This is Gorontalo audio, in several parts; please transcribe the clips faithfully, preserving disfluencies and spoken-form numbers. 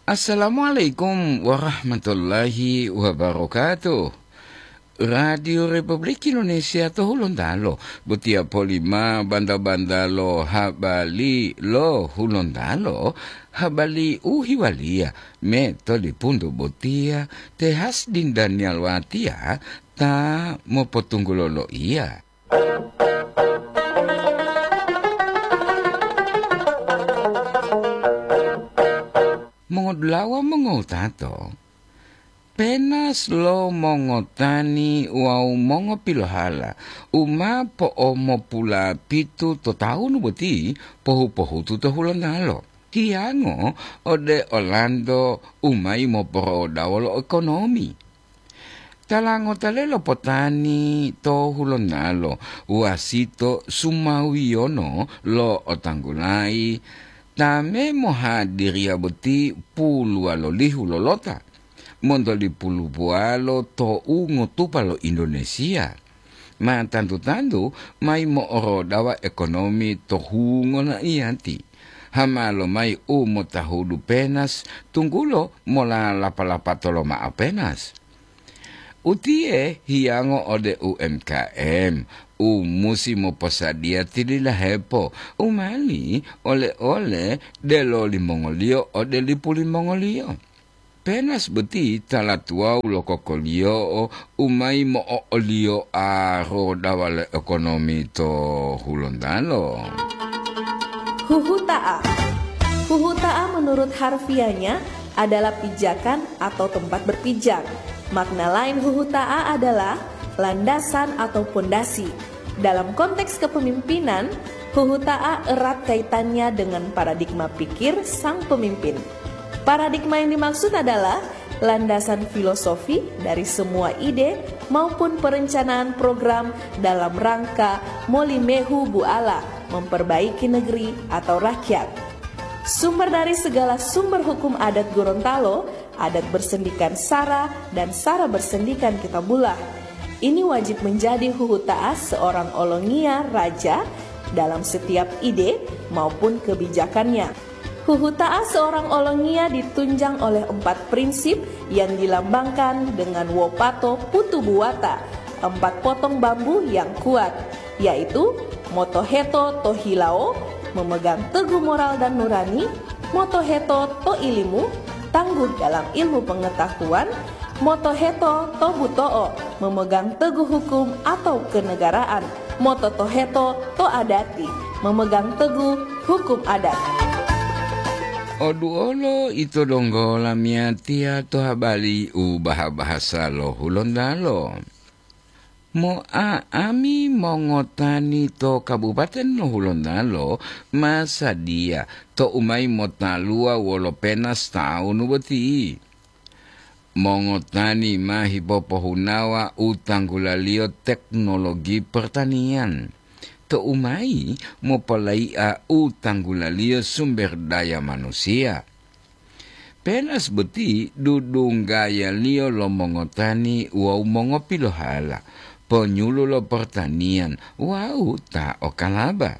Assalamualaikum warahmatullahi wabarakatuh. Radio Republik Indonesia to Hulontalo, botiya polima banda-banda lo habari lo Hulontalo, habari u hiwaliya me to lipuntu botiya te Hasdin Daniel Watiya ta mopotunggulo loiya. Mongodulawa mongowutato, penas lo mongotani wawu mongopilohala u ma po'omopulapito to tawunu boti pohu-pohutu to Hulontalo, hiyango ode olanto u mayi moporodawo lo ekonomi. Tala ngota lelo potani to Hulontalo, wasito sumawiyono lo otanggulayi ta me mohadiriya boti puluwalo lihu lolota, monto lipulubuwalo to u ngotupa lo Indonesia. Ma tantu-tantu mayi mo'orodawa ekonomi to hungo naiyati. Hama lomayi u motahudu penas, tunggulo mola lapa-lapato lomao penas. Utiye hiyango ode U M K M, u musi moposadiya tililahepo u mali ole-ole delo limongoliyo ode lipu limongoliyo. Penas boti tala tuwawu lo kokoliyo'o u mayi mo'o'oliyoa rodawa lo ekonomi to Hulontalo. Huhuta'a. Huhuta'a menurut harfiahnya adalah pijakan atau tempat berpijak. Makna lain huhuta'a adalah landasan atau pondasi. Dalam konteks kepemimpinan, huhuta'a erat kaitannya dengan paradigma pikir sang pemimpin. Paradigma yang dimaksud adalah landasan filosofi dari semua ide maupun perencanaan program dalam rangka molimehu buala memperbaiki negeri atau rakyat. Sumber dari segala sumber hukum adat Gorontalo, adat bersendikan sara dan sara bersendikan kitabullah. Ini wajib menjadi huhuta'a seorang olongiya raja dalam setiap ide maupun kebijakannya. Huhuta'a seorang olongiya ditunjang oleh empat prinsip yang dilambangkan dengan wopato putu buwata, empat potong bambu yang kuat, yaitu motoheto to hilawo, memegang teguh moral dan nurani, motoheto to ilimu, tangguh dalam ilmu pengetahuan, motoheto to buto'o, memegang teguh hukum atau kenegaraan, mototoheto to adati, memegang teguh hukum adat. Oduolo ito donggo lamiyatiya to habari u baha-bahasa lo Hulontalo. Mo'a'ami mongotani to Kabupaten lo Hulontalo ma sadiya to u mayi motaluwa wolo penas tawunu boti. Mongotani ma hipopohunawa u tanggulaliyo teknologi pertanian, to u mayi mopolayi'a u tanggulaliyo sumber daya manusiya. Penas boti dudunggayaliyo lo mongotani wawu mongopilohala, ponyulu lo pertanian wawu ta o kalaba.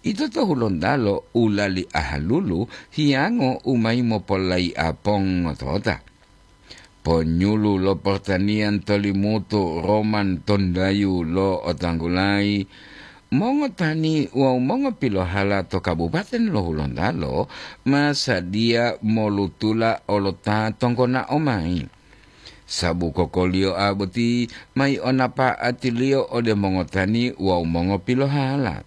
Ito to Hulontalo u lali ahalulu hiyango u mayi mopolayi'a pongotota. Ponyulu lo pertanian to Limutu Roman Tondayu lo otanggulayi, mongotani wawu mongopilohala to Kabupaten lo Hulontalo ma sadiya molutula olota tonggonao mayi. Sabu kokoliyoa boti mayi o napa'atiliyo ode mongotani wawu mongopilohala.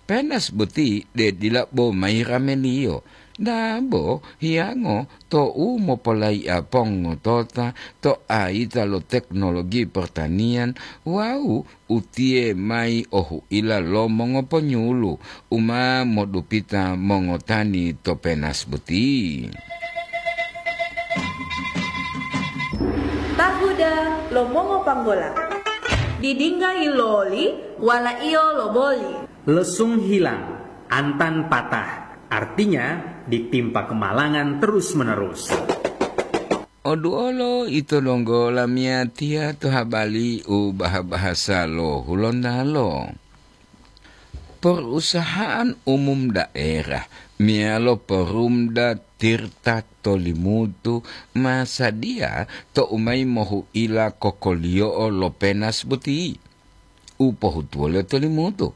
Penas boti de dila bo mayi rameliyo, dabo hiyango to u mopolayi'a pongotota to ayita lo teknologi pertanian wawu utiye mayi o hu'ila lo mongoponyulu u ma modupita mongotani to penas boti. Tahuda lo mongopanggola. Didingga yiloli, walaiyo lo boli. Lesung hilang, antan patah. Artinya, ditimpa kemalangan terus-menerus. Oduolo ito donggo lamiyatiya to habari u baha-bahasa lo Hulontalo. Perusahaan umum daerah meyalo Perumda Tirta Tolimutu ma sadiya to'u mayi mohu'ila kokoliyo'o lo penas boti u pohutuwoliyo Tolimutu.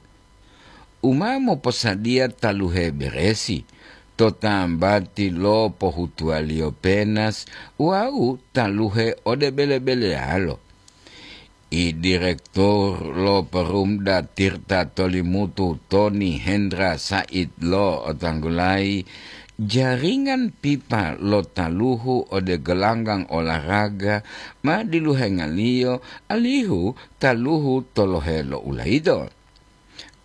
U ma moposadiya taluhe beresi to tambati lo pohutuwaliyo penas wawu taluhe ode bele-beleyalo. I direktur lo Perumda Tirta Tolimutu Toni Hendra Said lo otanggulayi, jaringan pipa lo taluhu ode gelanggang olahraga ma diluhengaliyo alihu taluhu tolohe lo ulayito.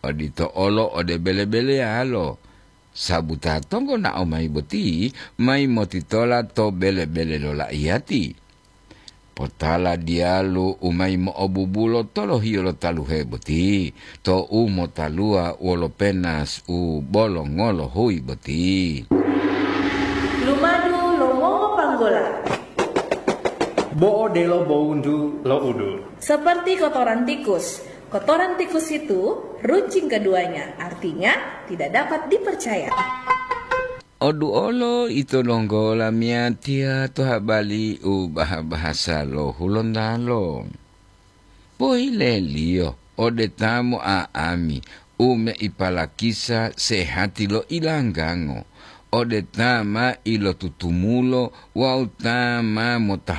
Odito olo ode bele-beleyalo, sabu ta tonggonao mayi boti mayi motitola to bele-bele lo laiyati. Potala diyalu u mayi mo'obubulo tolohiyo lo taluhe boti, to u motaluwa wolo penas u bolongolo huyi boti. Lumadu lo mongopanggola. Bo odelo bowuntu lo udu. Seperti kotoran tikus. Kotoran tikus itu runcing keduanya, artinya tidak dapat dipercaya. Oduolo ito donggo lamiyatiya to habali u baha-bahasa lo Hulontalo. Pohileliyo ode ta mo'a'ami u meipalakisa sehati lo ilanggango, ode ta ma ilotutumulo wawu ta ma mota